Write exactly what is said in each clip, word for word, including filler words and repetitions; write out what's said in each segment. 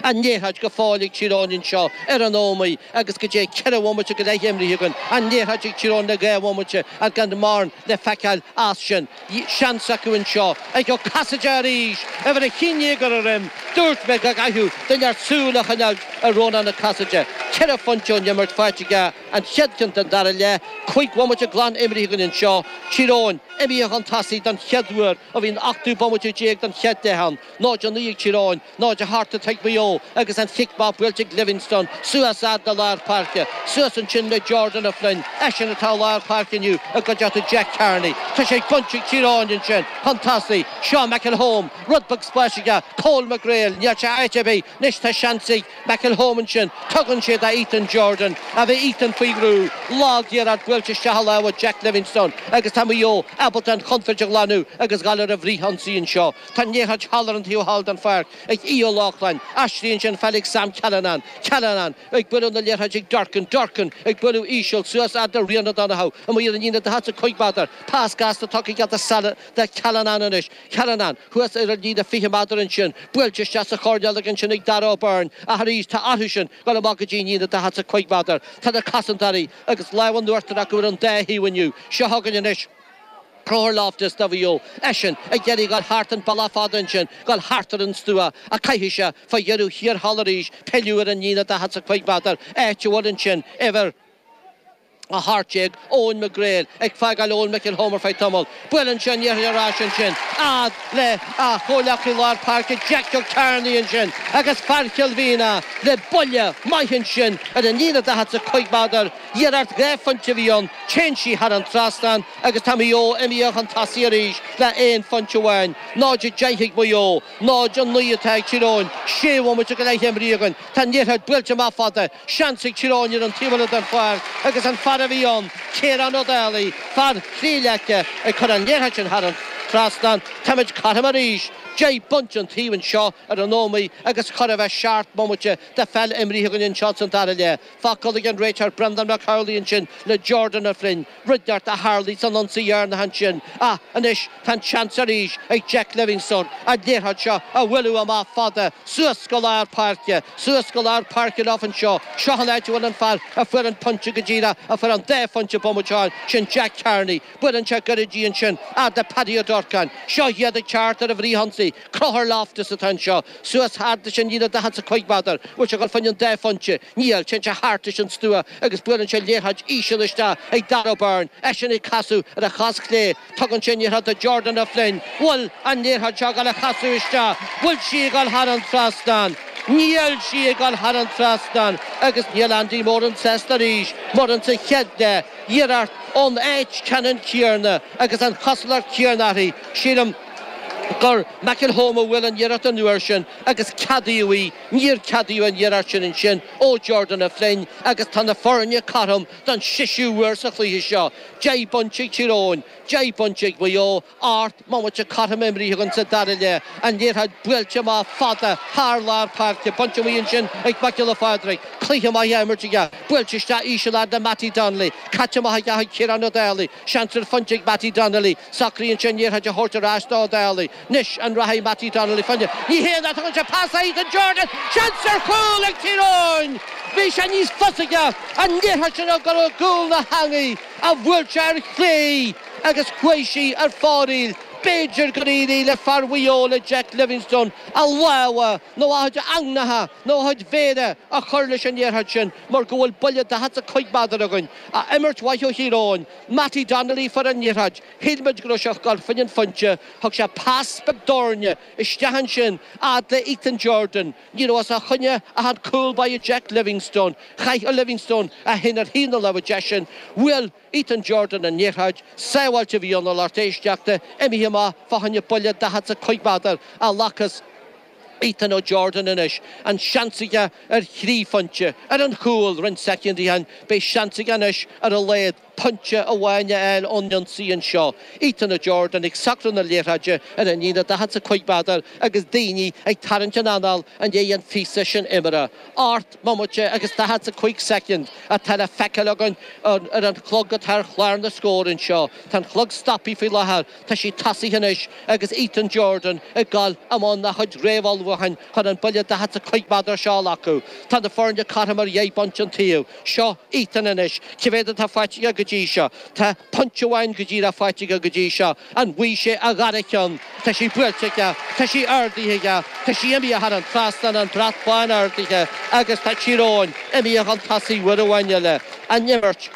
An liathróid go fóill ag Tír Eoghain anseo ar an Ómaigh agus go dté ceithre bhomaite go leith imrithe againn. An liathróid ag Tír Eoghain le dhá bhomaite ach gan mórán le feiceáil as sin. Seans acu anseo ag Ó Casaide arís, uimhir a haon déag ar a dhroim. Dúirt mé go gcaithfeadh duine inteacht súil a choinneáil ar Rónán Ó Casaide. Ceithre phointe ón imirt faighte aige, an chéad cheann den dara leath. Cúig bhomaite glan imrithe againn anseo. Tír Eoghain imithe chun tosaigh don chéad uair ó bhí an ochtú bomaite déag den chéad leath ann. náid a naoi ag Tír Eoghain, náid a hocht atá ag Maigh Eo agus an chic maith buailte ag Livingstone suas fhad le lár páirce. Suas ansin le Jordan O'Flynn, eisean atá i lár páirce inniu i gcuideachta Jack Carney. Tá sé ag baint ag Tír Eoghain ansin chun tosaigh. Seo McElholm, rud beag spáis aige, Cole McGrail, níl sé áit ar bith. Anois tá seans ag McElholm ansin, tugann sé do Ethan Jordan. Ach bhí Ethan faoi bhrú. Lag-iarracht buailte isteach i lámha Jack Livingstone agus tá Maigh Eo ábalta an chontúirt a ghlanadh agus dhul ar an bhfrithionsaí anseo. Tá an liathróid thall ar an taobh thall den pháirc ag Aodh Ó Lochlainn. Aistríonn sé an pheil ag Sam Callanan. Callanan ag bualadh na liathróide ag Durcan. Durcan ag bualadh íseal suas fhad le Rian O'Donoghue. Amuigh ar an líne daichead 's a cúig méadar. Pas gasta tugtha aige do Callanan anois. Callanan thuas ar an líne fiche méadar ansin. Buailte isteach sa choirnéal ansin ag Darragh O'Byrne. Ach arís tá orthu sin dul amach go dtí an líne daichead 's a cúig méadar. Tá na cosantóirí agus lámh in uachtar acu ar an dá thaobh inniu. Seo chugainn anois. Conchúr Loftus do Mhaigh Eo, eisean ag iarraidh dul thart an bealach fada ansin, dul thart ar an stua, ach caithfidh sé fá dheireadh thiar thall arís pilleadh ar an líne daichead 's a cúig méadar, áit a bhfuil ansin uimhir a hocht déag, Eoin McGrail, ag fágáil Eoin McElholm ar feadh tamaill. Buaileann sé an liathróid ar ais ansin, fhad le a chomhghleacaí lár páirce Jackie Carney ansin agus fear Chill Mhíona le buille maith ansin ar an líne daichead 's a cúig méadar. Iarracht dhá phointe a bhí ann, téann sí thar an trasnán agus tá Maigh Eo imithe chun tosaigh arís le aon phointe amháin. náid a deich ag Maigh Eo, náid a naoi atá ag Tír Eoghain. Sé bhomaite go leith imrithe againn. Tá an liathróid buailte amach fada, seans ag Tír Eoghain ar an taobh eile den pháirc agus an fear a bhí ann, Ciarán Ó Dálaigh, fear Thrí Leice, ag cur an liathróid sin thar an trasnán. Táimid cothrom arís. Deich bpointe an taobh anseo ar an Ómaigh agus chor a bheith seacht mbomaite de pheil imrithe againn anseo san dara leath. Focal ag an réiteoir Brendan McCauley ansin le Jordan O'Flynn, rud inteacht a tharlaigh san ionsaí dheireanach ansin. Ach anois tá an seans arís ag Jack Livingstone an liathróid seo a bhualadh amach fada suas go lár páirce, suas go lár páirce leo anseo. Seo an áit a bhfuil an fear a fuair an pointe go díreach, a fuair an dá phointe bomaite ó shin, sin Jack Carney. Buaileann sé gairid í ansin fhad le Paddy Ó Durcáin. Seo iad ag teacht ar an bhfrithionsaí. Conchúr Loftus atá anseo. Suas fhad leis an líne daichead 's a cúig méadar. Bhfuil sé ag dul fá choinne an dá phointe? Níl. Téann sé thart leis an stua agus buaileann sé liathróid íseal isteach ag Darragh O'Byrne. Eisean ag casadh ar a chos chlé. Tugann sé an liathróid do Jordan O'Flynn. Bhfuil an liathróid seo ag dul a chasadh isteach? Bhfuil sí ag dul thar an trasnán? Níl sí ag dul thar an trasnán agus níl Andy Moran sásta arís mar insa chéad leath, iarracht ón áit ceannann céanna agus an chosúlacht chéanna uirthi, sílim gur McElholm a bhuail an iarracht an uair sin agus ceadaíodh í. Níor ceadaíodh an iarracht sin ansin ó Jordan O'Flynn agus tá na foirne cothrom don seisiú huair sa chluiche seo. Deich bpointe ag Tír Eoghain, deich bpointe ag Maigh Eo. Ocht mbomaite cothrom imrithe againn sa dara leath. An liathróid buailte amach fada thar lár páirce. Bainte amuigh ansin ag Mac Giolla Phádraig. Cluiche maith á imirt aige. Buailte isteach íseal fhad le Mattie Donnelly. Caite amach aige chuig Ciarán Ó Dálaigh. Seans ar phointe ag Mattie Donnelly. Socraíonn sé an liathróid a thabhairt ar ais do Ó Dálaigh. Anois an rachaidh Mattie Donnelly fá choinne? Ní hea ná tugann sé pas do Ethan Jordan. Seans ar chúl ag Tír Eoghain! Bhí sé níos fusa aige an liathróid sin a chur i gcúl na heangaí ach bhuail sé ar chlé agus chuaigh sí ar fóraoil. B'fhéidir gur éirigh le fear Mhaigh Eo, le Jack Livingstone, a lámha nó a chuid eangnacha nó a chuid mhéire a chur leis an liathróid sin mar go bhfuil buille daichead 's a cúig méadar againn. Imirt mhaith ó Thír Eoghain. Mattie Donnelly a fuair an liathróid. Shíl muid go raibh sé ag dul fá choinne an phointe. Thug sé pas beag doirne isteach ansin fhad le Ethan Jordan. Ní raibh os a choinne ach an cúl báire Jack Livingstone. Chaith Livingstone é féin ar thaobh na láimhe deise. Bhuail Ethan Jordan an liathróid. Sábháilt a bhí ann a lucht éisteachta, imithe amach fá choinne buille daichead 's a cúig méadar a ghlacfas Ethan O'Jordan anois. An seans aige ar thrí phointe, ar an chúl roinnt soicind ó shin. Beidh seans aige anois ar a laghad pointe amháin a fháil ón ionsaí anseo. Ethan O'Jordan ag socrú na liathróide ar an líne daichead 's a cúig méadar agus daoine ag tarraingt a n-anáil i ndiaidh an phíosa sin imeartha. Ocht mbomaite agus daichead 's a cúig soicind atá le feiceáil againn ar an chlog atá ar chlár na scór anseo. Tá an clog stoptha faoi láthair. Tá sí tosaithe anois agus Ethan Jordan ag dul i mbun a chuid réamhullmhúcháin. ullmhúcháin chun an buille daichead is a cúig méadar seo a ghlacadh. Tá na foirne cothrom ar dheich bpointe an taobh. Seo Ethan anois. Cé mhéad atá faighte aige go dtí seo? Tá pointe amháin go díreach faighte aige go dtí seo. An bhfaighidh sé a dhara ceann? Tá sí buailte aige. Tá sí ardaithe aige. Tá sí imithe thar an trasnán, an brat bán ardaithe agus tá Tír Eoghain imithe chun tosaigh uair amháin eile. An imirt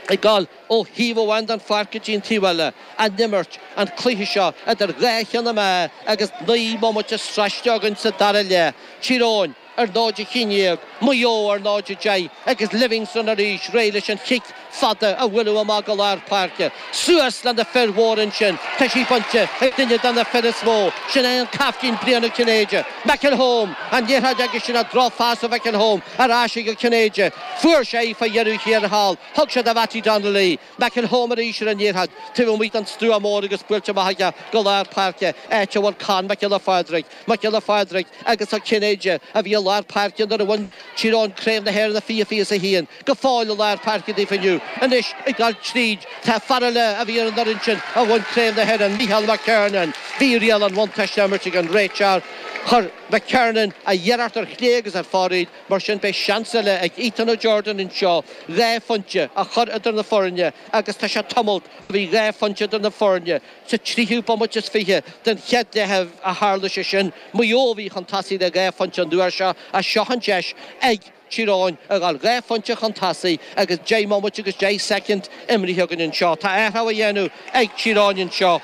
ag dul ó thaobh amháin den pháirc go dtí an taobh eile, an imirt, an cluiche seo idir dhá cheann na meá agus naoi mbomaite sroichte againn sa dara leath. Tír Eoghain ar náid a haon déag, Maigh Eo ar náid a deich agus Livingstone arís réidh leis an chic fada a bhualadh amach go lár páirce. Suas le na fir mhóra ansin, tá sí bainte ag duine de na fir is mó, sin é an caiftín Brian Ó Cinnéide. McElholm, an liathróid aige sin, drochphas ó McElholm ar ais ag Ó Cinnéide. Fuair sé í fá dheireadh thiar thall, thug sé do Mhattie Donnelly. McElholm arís ar an liathróid, taobh amuigh den stua mór agus buailte amach aige go lár páirce, áit a bhfuil Con Mac Giolla Phádraig. Mac Giolla Phádraig agus Ó Cinnéide a bhí i lár páirce nuair a bhain Tír Eoghain Craobh na hÉireann i fiche fiche is a haon. Go fóill i lár páirce daofa inniu. Anois ag dul tríd, tá fear eile a bhí ar an fhoireann sin a bhain Craobh na hÉireann, Micheál McKernan. Bhí riail an bhuntáiste á imirt ag an réiteoir. Chuir McKernan a iarracht ar chlé agus ar fóraoil, mar sin beidh seans eile ag Ethan O'Jordan anseo dhá phointe a chur idir na foirne agus tá sé tamall ó bhí dhá phointe idir na foirne. Sa tríú bomaite is fiche den chéad leath a tharla sé sin. Maigh Eo a bhí chun tosaigh le dhá phointe an uair seo ach seo an deis ag Tír Eoghain a dhul dhá phointe chun tosaigh agus deich mbomaite agus deich soicind imrithe againn anseo. Tá athrú á dhéanamh ag Tír Eoghain anseo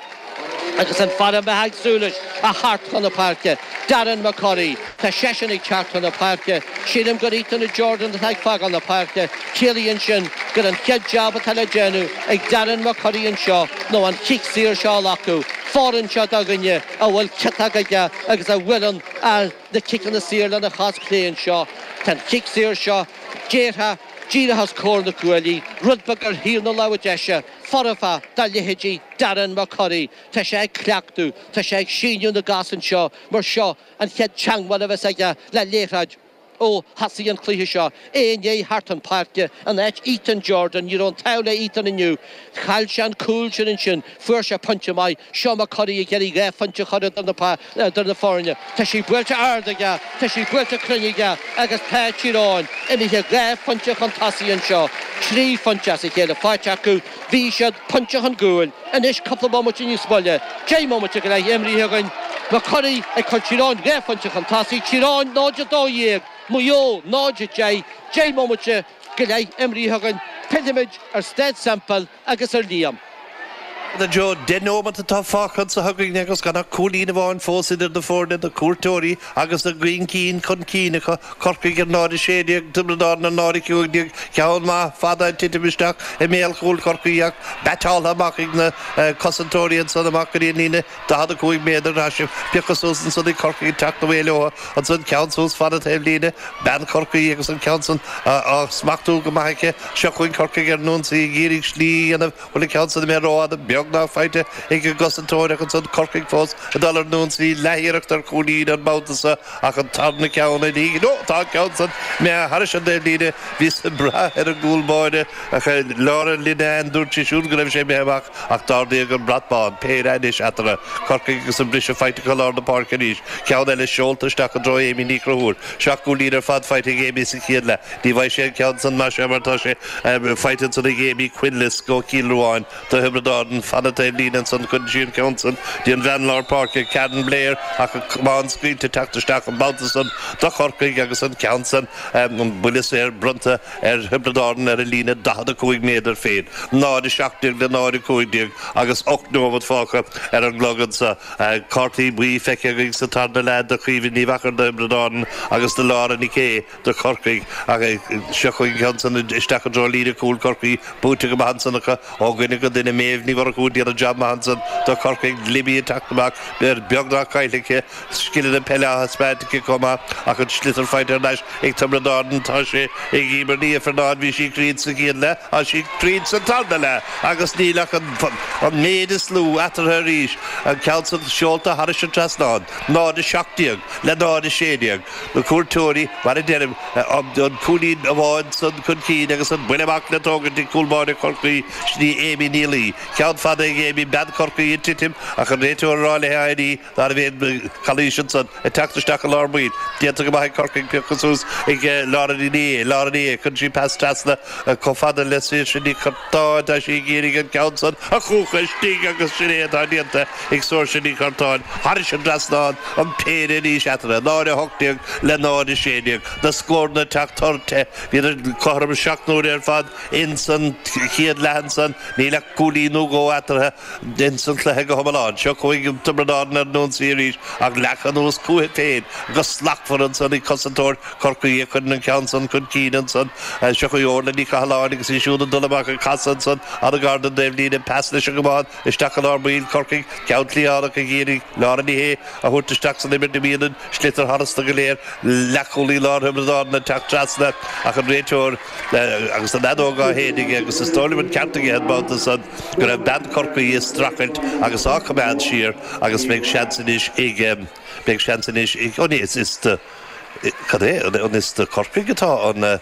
agus an fear a mbeifeá ag súil leis a theacht chun na páirce, Darren McCurry. Tá seisean ag teacht chun na páirce. Sílim gur Ethan O'Jordan atá ag fágáil na páirce. Ciallaíonn sin gur an chéad jab atá le déanamh ag Darren McCurry anseo nó an cic saor seo a ghlacadh. Fóireann seo do dhuine a bhfuil ciotach aige agus a bhuaileann na ciceanna saor lena chos chlé anseo. Tá an cic saor seo déarfá díreach os comhair na gcuaillí, rud beag ar thaobh na láimhe deise, foirfe do leithéidí Darren McCurry. Tá sé ag cleachtadh, tá sé ag síneadh na gcos anseo mar seo an chéad teangmháil a bheas aige le liathróid ó thosaigh an cluiche seo. É i ndiaidh theacht chun páirce in áit Ethan Jordan. Ní raibh an t-ádh le Ethan inniu. Chaill sé an cúl sin ansin. Fuair sé pointe maith. Seo McCurry ag iarraidh dhá phointe a chur idir na foirne. Tá sí buailte ard aige. Tá sí buailte cruinn aige agus tá Tír Eoghain imithe dhá phointe chun tosaigh anseo. Trí phointe as a chéile faighte acu. Bhí siad pointe chun cúil. Anois cúpla bomaite níos moille. Deich mbomaite go leith imrithe againn. McCurry ag cur Tír Eoghain dhá phointe chun tosaigh. Tír Eoghain náid a dó dhéag, Maigh Eo náid a deich. Deich mbomaite go leith imrithe againn. Pillfimid ar Staid Semple agus ar Liam. A Joe, deich nóimeat atá fágtha anseo againn agus gan ach cúilín amháin fós idir na foirne, na cuairteoirí agus an grian cinn chun cinn acu, Corcaigh ar náid a sé déag, Tiobraid Árann ar náid a cúig déag, ceann maith fada ag titim isteach i mbéal chúl Chorcaí ach batáltha amach ag na cosantóirí ansan amach go dtí an líne daichead a cúig méadar. Tá sé pioctha suas ansan ag Corcaigh ag teacht away leo ansan, ceann suas fada taobh líne, bean Chorcaí agus an ceann san á smachtú go maith aici. Seo chugainn Corcaigh ar an ionsaí ag iarraidh slí a dhéanamh. Bhfuil an ceann san imithe rófhada? Beagnach faighte ag an gcosantóir ach ansan Corcaigh fós ag dul ar an ionsaí, leathiarracht ar chúilín an babhta seo ach an tarna ceann i ndiaidh. Nó tá an ceann san imithe thairis an dtaobhlíne. Bhíos ag brath ar an gcúl báire ach Laura Linnane, dúirt sí siúd go raibh sé imithe amach ach d'ardaíodh an brat bán. Péire anois eatarthu. Corcaigh agus an briseadh faighte acu i lár na páirce arís. Ceann eile seolta isteach i dtreo Amy Ní Chonchúir. Seacht gcúilín ar fad faighte ag Amy sa chéad leath. Ní bhfaighidh sé an ceann san más ea mar tá sé faighte ansan ag Amy Quinlisk ó Chill Ruáin do Thiobraid Árann. Fada taobh líne ansan cuireann sí an ceann san dtí an bhean lár páirce, Karen Blair, ach an camán scaoilte teacht isteach an babhta san do Chorcaigh agus an ceann san, an buille saor bronnta ar Thiobraid Árann ar a líne daichead a cúig méadar féin. náid a seacht déag le náid a cúig déag agus ocht nóimeat fágtha ar an gclog anso. Cártaí buí feicthe againn sa tarna leath do Chaoimhe Ní Mheachair do Thiobraid Árann agus do Laura Nic Aodha do Chorcaigh ach seo chugainn an ceann san isteach i dtreo líne cúil Chorcaí, buaite go maith ansan acu ó dhuine go duine. Méabh Ní Mhurchú ag déanamh jab maith ansan do Chorcaigh, Libby ag teacht amach beagnach caillte aici, scileanna peile á thaispeáint aici chomh maith ach an sliotar faighte thar n-ais ag Tiobraid Árann. Tá sé ag Emer Ní Ifearnáin, bhí sí cruinn sa gcéad leath, tá sí cruinn sa tarna leath agus níl ach an méid is lú eatarthu arís. An ceann san seolta thairis an trasnán, náid a seacht déag le náid a sé déag. Na cuairteoirí, mar a deirim, an cúilín amháin san chun cinn agus an buille amach le tógaint ag cúl báire Chorcaí, sin í Amy Ní Laoi. Ceann fada ag Amy bean Chorcaí ag titim ach an réiteoir ag rá léi éirí ná a bheith calaois ansan ag teacht isteach i lár baill. Déanta go maith ag Corcaigh pioctha suas ag Laura Ní Laura Ní chun sí pas trasna chomh fada le Saoirse Ní Churtáin tá sí ag iarraidh an ceann san a chucha istigh agus sin é atá déanta ag Saoirse Ní Churtáin thairis an trasnán an péire arís eatarthu náid a hocht déag le náid a sé déag na scóranna ag teacht tur te bhíodar cothrom seacht n-uaire ar fad ins an chéad leath ansan níl ach cúilín nó dhó eatarthu ins an chluiche go hiomlán. Seo chugainn Tiobraid Árann ar an ionsaí arís ach leagtha anuas chucu féin go slachtmhar ansan ag cosantóir Chorcaí a chuireann an ceann san chun cinn ansan. Seo chugainn Orla Ní Chathalláin agus í siúd ag dul amach ag casadh ansan an-ghar don dtaobhlíne pas leis an gcamán isteach i lár baill Chorcaigh ceann cliathánach ag iarraidh Laura Ní Shé a thabhairt isteach san imirt imíonn an sliotar tharstu go léir leathchúlaí láir Thiobraid Árann ag teacht trasna ach an réiteoir agus an fheadóg á shéideadh aige agus is dóigh liom an ceart aige an babhta san go raibh bean Chorcaí ag streachailt agus á coimeád siar agus beidh seans anois ag beidh seans anois ag ó ní is is do cad é an is do Chorcaigh atá an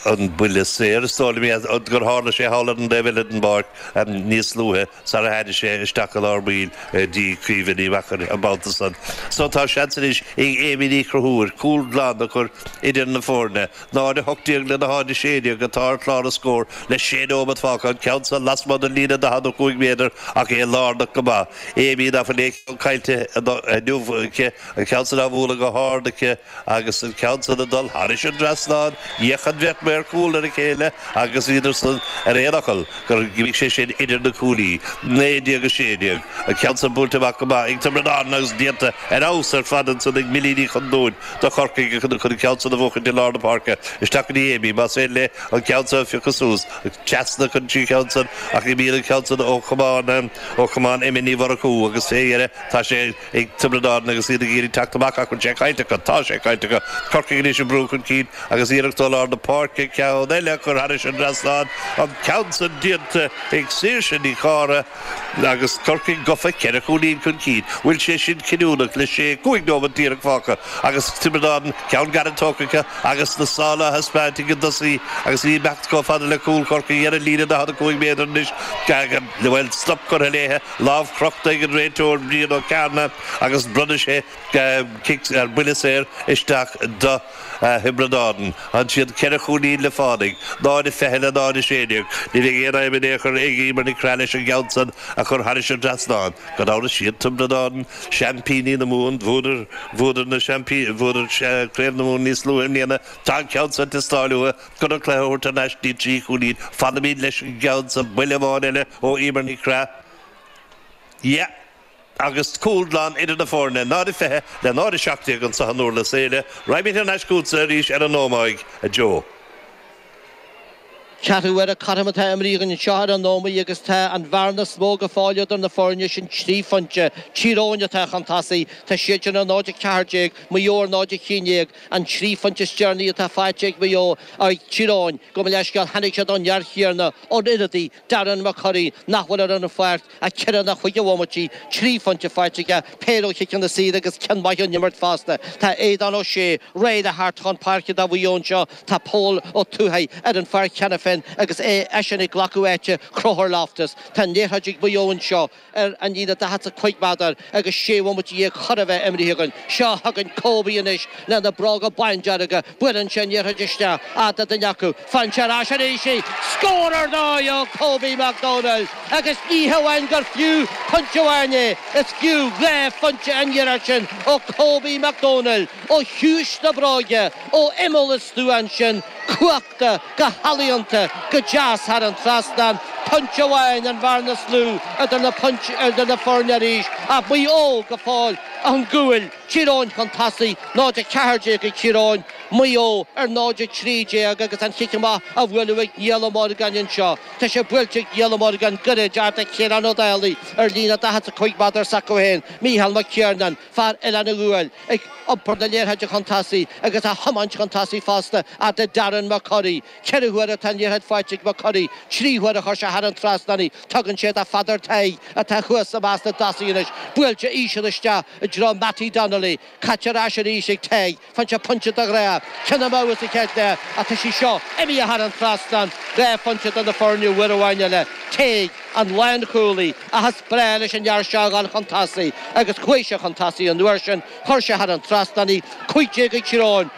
an buille saor is dóigh liom gur tharla sé thall ar an dtaobh eile den bpáirc níos luaithe sara tháinig sé isteach i lár baill dtí Caoimhe Ní Mheachair an babhta san. So tá seans anois ag Amy Ní Chonchúir cúl glan a chur idir na foirne. náid a hocht déag lena náid a sé déag atá ar chlár na scór le sé nóiméad fágtha, an ceann san lasmuigh den líne daichead a cúig méadar ach é lárnach go maith. Amy ná fuil aon cheann caillte inniu aici, an ceann san á bhualadh go hard aici agus an ceann san ag dul thairis an dtrasnán. D'fhéach an bheirt maor cúil ar a chéile agus bhíodar san ar aon fhocal gur imigh sé sin idir na cuaillí. naoi déag a sé déag. An ceann san buailte amach go maith ag Tiobraid Árann agus déanta ar fheabhas ar fad ansan ag Millie Ní Chondúin do Chorcaigh chun an ceann san a bhuachaint i lár na páirce. Isteach go dtí Amy, más féidir léi an ceann san a phiocadh suas. Trasna chun an ceann san ach imíonn an ceann san ó chamán ó chamán Emma Ní Mhurchú agus fé dheireadh tá sé ag Tiobraid Árann agus iad ag iarraidh teacht amach ach bhfuil sé caillte acu. Tá sé caillte acu. Corcaigh anois ag brú chun cinn agus iarracht ó lár na páirce ceann eile a chur thairis an dtrasnán. An ceann san déanta ag Saoirse Ní Chártha agus Corcaigh gafa ceithre chúilín chun cinn. Bhfuil sé sin cinniúnach le sé cúig nóiméad díreach fágtha agus Tiobraid Árann ceann gairid tógtha acu agus na sála á thaispeáint ag an dtosaí agus í ag imeacht chomh fada le cúl Chorcaí ar an líne daichead a cúig méadar anois. Bhuel, stop curtha léithe, lámh crochta ag an réiteoir Brian Ó Cearna agus bronnann sé cic ar buille saor isteach do Thiobraid Árann. Ansin ceithre chúilín le fánaidh, náid a fiche le náid a sé déag. Ní bheidh aon fhadhb in aon chor ag Emer Nic Craith leis an gceann san a chur thairis an dtrasnán. Gan amhras siad Tiobraid Árann, seaimpíní na Mumhan, bhuadar, bhuadar na seaimpíní, bhuadar Craobh na Mumhan níos luaithe i mbliana. Tá an ceann san ag teastáil uathu chun an cluiche a thabhairt thar n-ais dtí trí chúilín. Fanaimid leis an gceann san, buille amháin eile ó Emer Nic Craith. Yeah. Agus cúl glan idir na foirne, náid a fiche le náid a seacht déag anseo in Durlas Éile. Raghaimid thar n-ais chugatsa arís ar an Ómaigh, a Joe. Ceathrú uaire cothrom atá imrithe againn anseo ar an Ómaigh agus tá an bhearna is mó go fóill idir na foirne sin trí phointe. Tír Eoghain atá chun tosaigh, tá siad sin ar náid a ceathair déag, Maigh Eo ar náid a haon déag. An trí phointe is deireanaí atá faighte ag Maigh Eo, ag Tír Eoghain, gabh mo leithscéal, tháinig siad ón fhear chéanna, ón ionadaí, Darren McCurry, nach bhfuil ar an pháirc ach ceithre nó cúig de bhomaití, trí phointe faighte aige, péire ó chiceanna saora agus ceann maith ón imirt fosta. Tá Aodán Ó Sé réidh le theacht chun páirce do Mhaigh Eo anseo. Tá Pól Ó Tuathaigh ar an pháirc cheana féin agus é eisean ag glacadh áite Chonchúr Loftus. Tá an liathróid ag Maigh Eo anseo ar an líne daichead 's a cúig méadar agus sé bhomaite dhéag chóir a bheith imrithe againn. Seo chugainn Kobe anois lena bhróga bándearga. Buaileann sé an liathróid isteach fhad le duine acu. Faigheann sé ar ais arís í. Scór ar ndóigh ó Kobe Mac Domhnaill agus ní hamháin gur fiú pointe amháin é, is fiú dhá phointe an iarracht sin ó Kobe Mac Domhnaill ó chiumhais na bróige, ó imeall an stua ansin, cuachta go healaíonta, go deas thar an trasnán. Pointe amháin an bhearna is lú idir na idir na foirne arís ach Maigh Eo go fóill ón gcúl. Tír Eoghain chun tosaigh, náid a ceathair déag ag Tír Eoghain, Maigh Eo ar náid a trí déag agus an chic amach á bhualadh ag Niall Ó Morgáin anseo. Tá sé buailte ag Niall Ó Morgáin gairid fhad le Ciarán Ó Dálaigh ar líne daichead 's a cúig méadar s'acu féin. Mícheál Mac Ciarnáin, fear Oileán an Ghuail, ag iompar na liathróide chun tosaigh agus á thiomáint chun tosaigh fosta fhad le Darren McCurry. Ceithre huaire atá an liathróid faighte ag McCurry, trí huaire a chuir sé thar an trasnán í. Tugann sé do Pheadar Tadhg atá thuas i measc na dtosaithe anois. Buailte íseal isteach i dtreo Mattie Donnelly, caite ar ais arís ag Tadhg, faigheann sé pointe de ghnáth, ceann amú sa chéad leath ach tá sí seo imithe thar an trasnán, dhá phointe do na foirne uair amháin eile. Tadhg, an lánchúlaí, ach is breá leis an fhear seo a dhul chun tosaigh agus chuaigh sé chun tosaigh an uair sin, chuir sé thar an trasnán í, cúig déag ag Tír Eoghain.